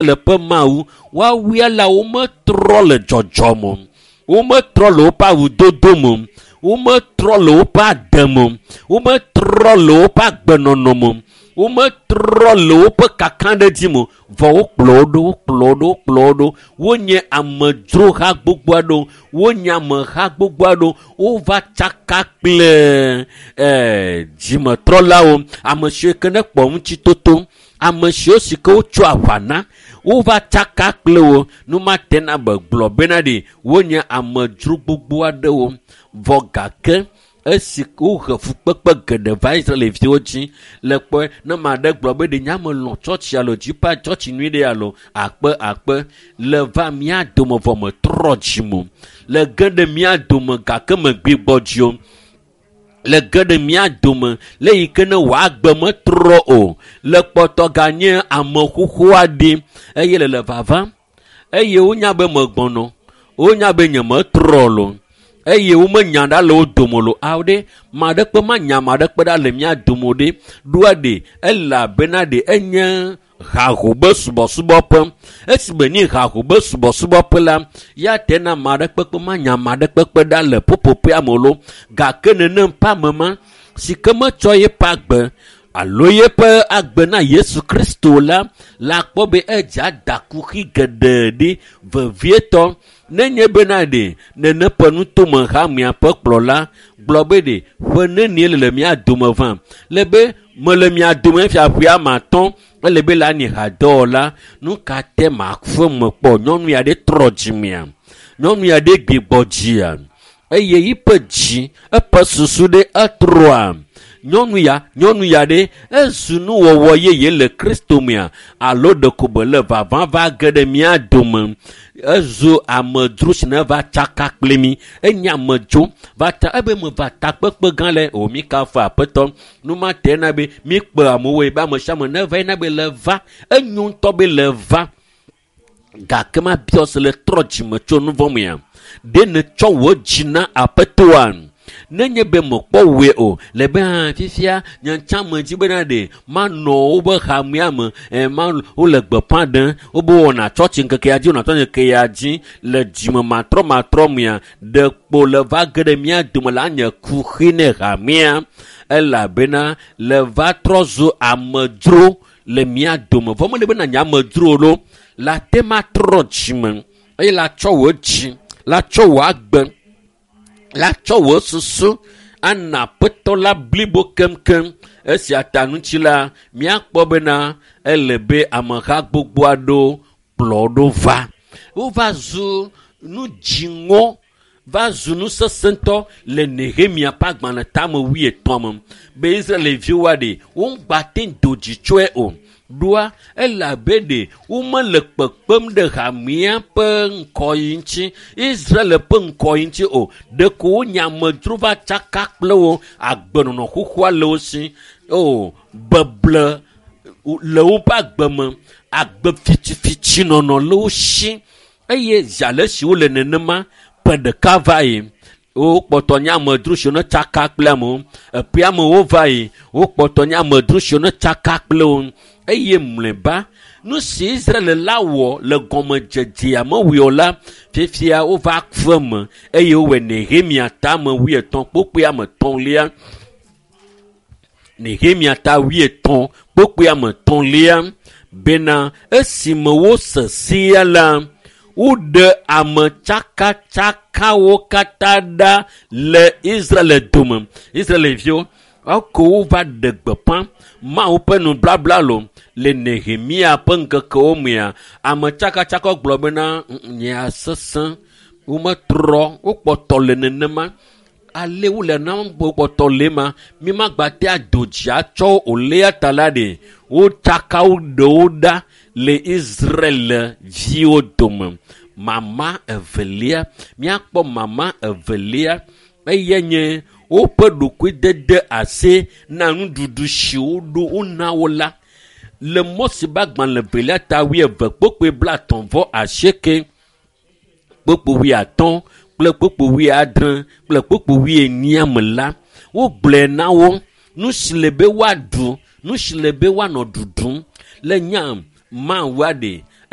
Israel ƒe Mawu, woawoe la wometrɔ le dzɔdzɔme o. Wometrɔ le woƒe awudodo me o. Wometrɔ le woƒe ade me o. Wometrɔ le woƒe agbenɔnɔ me o. Wometrɔ le woƒe kakaɖedzi me o. Vɔ wokplɔ wo ɖo, wokplɔ wo ɖo, wokplɔ wo ɖo. Wonye amedzroha gbogbo aɖewo. Wonye ameha gbogbo aɖewo. Wova tsaka kple dzimetrɔlawo. Ame siwo ke ne kpɔ ŋutitoto, ame siwo si ke wotso aʋa na, wova tsaka kple wo. Nu ma te na be gblɔ bena ɖe wonye amedzro gbogbo aɖewo. Vɔ gake esi wohe fukpekpe geɖe va Israelviwo dzi le kpɔe ne ame aɖe gblɔ be ɖe nye ame lɔ̃ tsɔtsi alo dziƒa tsɔtsi nyui ɖe alo akpe akpe le va mía dome vɔ metrɔ dzime o. Le ge ɖe mía dome gake megbigbɔ dzi o. Le ge ɖe mía dome le yi ke ne wòagbe metrɔ o. Le kpɔtɔ ganye ame xoxo aɖe eye le le vava eye wonya be megbɔnɔ, wonya be nyemetrɔ lo. Eye womenya ɖa le wo dome lo. Awo ɖe, ame aɖekpe manya ame aɖekpe ɖa le mía dome o ɖe. Ɖoa ɖe, elabena ɖe enye haho be subɔsubɔƒe. Esime nye haho be subɔsubɔƒe la, ya te na ame aɖekpe kpe manya ame aɖekpe kpe ɖa le ƒuƒoƒea me lo. Gake nenem ƒe ame ma, si ke metsɔ yeƒe agbe alo yeƒe agbe na Yesu Kristo la, la kpɔ be edze ada kuxi geɖe ɖi vevietɔ. Nenye bena ɖe nene ƒe nutome hamea ƒe kplɔla gblɔ be ɖe ƒe nenie le mía dome vam. Le be mele mía dome fia ƒe ame atɔ̃, ele be la nye hadɔwɔla. Nu ka te mafe me kpɔ? Nyɔnu ya ɖe trɔ dzimea? Nyɔnu ya ɖe gbigbɔ dzia? Eye yiƒe dzi, eƒe susu ɖe etrɔa? Nyɔnu ya, nyɔnu ya ɖe ezu nuwɔwɔ yeye le Kristo mea? Alo ɖeko be le vava va ge ɖe mía dome? Ezu amedzro si ne va tsaka kple mi. Enye amedzro va ta, ebe me va takpekpe gã le o mi kafu aƒetɔ. Nu ma te na be mi kpe amewoe be ame sia ame ne va yina be le va. Enyo ŋutɔ be le va. Gake ma biɔ se le trɔ dzime tso nu vɔ̃ mea? Ɖe netsɔ wò dzi na aƒetɔa? Nenye be mekpɔ wòe o, le be hã fifia nye ŋutsã me dzi bena ɖe manɔ woƒe hamea me, ma wole gbeƒã ɖem, wobe wɔna tsɔtsi ŋkekea dzi, wɔna tsɔtsi ŋkekea dzi le dzime matrɔmatrɔ mea, ɖe kpo le va ge ɖe mía dome la nye kuxi ne hamea, elabena le va trɔ zu amedzro le mía dome. Vɔ mele bena nye amedzro lo, la te ma trɔ dzime eye la tsɔ wò dzi, la tsɔ wò agbe, la tsɔ wò susu ana aƒetɔ la blibo keŋkeŋ. Esia ta ŋuti la, míakpɔ bena ele be ameha gbogbo aɖewo kplɔ ɖo va. Wova zu nu dziŋɔ, va zu nu sesẽtɔ le Nehemia ƒe agbalẽ tame wuietɔ̃ me be Israelviwoa ɖe woŋgba te do dzi tsɔe o. Ɖoa elabe ɖe womele kpekpem ɖe hamea ƒe ŋkɔyi ŋuti, Israel ƒe ŋkɔyi ŋuti o. Ɖeko wonye amedzro va tsaka kple wo, agbenɔnɔ xoxoa le wo si. O, beble le woƒe agbe me, agbe fitifiti nɔnɔ le wo si. Eye zi ale si wole nenema, ƒe ɖeka va yi, wokpɔtɔ nye amedzro siwo ne tsaka kple amewo. Eƒe amewo va yi, wokpɔtɔ nye amedzro siwo ne tsaka kple wo. Eye mlɔeba, nu si Israel la wɔ le gɔmedzedzea mewɔe o la, fifia wova fe me eye wowɔe Nehemia tame wuietɔ̃ kpokpoe ame etɔ̃lia. Nehemia ta wuietɔ̃ kpokpoe ame etɔ̃lia bena esime wose sea la, woɖe ame tsakatsakawo katã ɖa le Israel dome. Israelviwo, eko wova ɖe gbeƒã Mawu ƒe nublabla lo le Nehemia ƒe ŋkekewo mea, ame tsakatsaka gblɔ bena nyea sesẽ, wometrɔ, wokpɔtɔ le nenema. Ale wole na wokpɔtɔ le ma, mi magba te ado dzi atsɔ o lea ta la ɖe, wotsaka wo ɖewo ɖa le Israel viwo dome. Mama evelia, míakpɔ mama evelia, eye nye woƒe ɖokuidede asi na nuɖuɖu si woɖo wona wo la. Le Mose ƒe agbalẽ evelia ta wuieve kpokpoe blaetɔ̃ vɔ asieke, kpokpo wuiatɔ̃ kple kpokpo wuiadre kple kpokpo wuienyia me la, wogblɔe na wo nu si le be woaɖu, nu si le be woanɔ ɖuɖum. Le nya Mawua ɖe,